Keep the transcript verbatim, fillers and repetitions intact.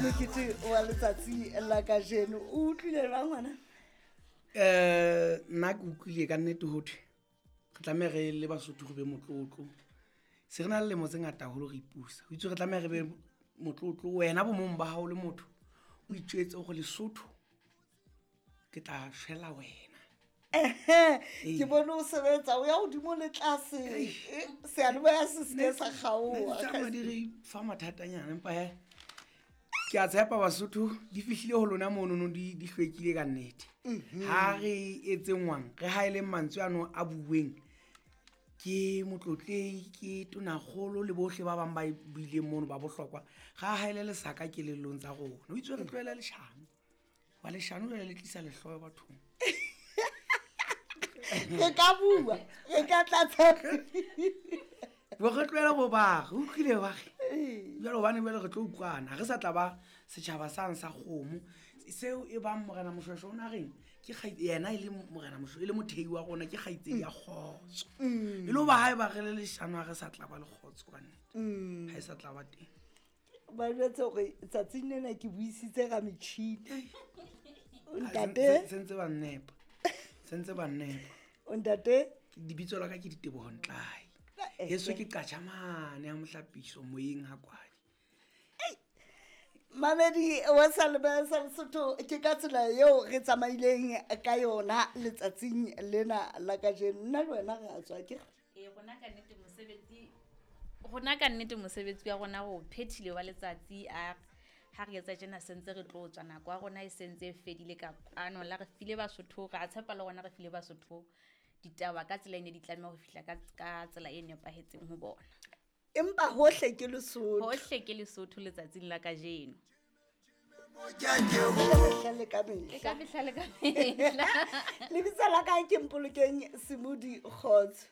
Mokete wa letsatsi la kajeno o utlwile jwang ngwana? um Nna ke utlwile ka nnete hothwe re tlameha re le Basotho re be motlotlo. Se re na le lemo tse ngata haholo re ipusa, ho itswe re tlameha re be motlotlo. Wena bo mong ba hao le motho o itjwetse hore Lesotho ke tla shwela wena. Ehe, ke bone o sebetsa o ya hodimo le tlase, seyalemoya se seke sa kgaoha. Tsamaya di re fa mathatanyana, empa he ke a tshepa Basotho di fihlile ho lona monono, di di hlwekile ka nnete. Ha re etseng re haeleng mantswe ano a bueng ke motlotlehi, ke tonakgolo le bohle ba bang ba buileng mono ba bohlokwa. Ra haele lesaka kelellong tsa rona. Ho itswe re tlohele leshano, wa leshano jwale le tlisa lehloyo bathong. Re ka bua, re ka tlatsa. Bo re tlohele bo ba re utlwile ba re jwale, hobane jwale re tlo utlwana, ha re sa tla ba setjhaba sang sa kgomo seo. E bang morena Moshweshwe o na reng ke yena e le morena Moshweshwe e le mothei wa rona, ke kgaitsedi ya kgotso. E le hoba ha eba re le leshano, ha re sa tla ba le kgotso ka nnete, ha e sa tla ba teng. Ba jwetse hore tsatsing lena ke buisitse ka metjhini, ntate. Sentse ba nnepa, sentse ba nnepa. Ntate, lebitso la ka ke Diteboho Ntlae, heso ke qatjhamane ya mohlapiso moyeng ha kwadi. Mamedi wa Salebe sa Lesotho, ke ka tsela eo re tsamaileng ka yona letsatsing lena la kajeno. Nna le wena re a tswa ke Ee, rona ka nnete mosebetsi, rona ka nnete mosebetsi wa rona o phethile wa letsatsi. A ha re etsa tjena sentse re tlo tswa, nako ya rona e sentse e fedile ka kwano. La re file Basotho, re a tshepa le rona re file Basotho ditaba ka tsela e ne di tlameha ho fihla ka ka tsela e nepahetseng ho bona. Empa hohle ke Lesotho, hohle ke Lesotho letsatsing la kajeno. Ka mehla le ka le mehla. Ka mehla le ka mehla. Lebitso la ka ke Mpolokeng Semodi. Kgotso.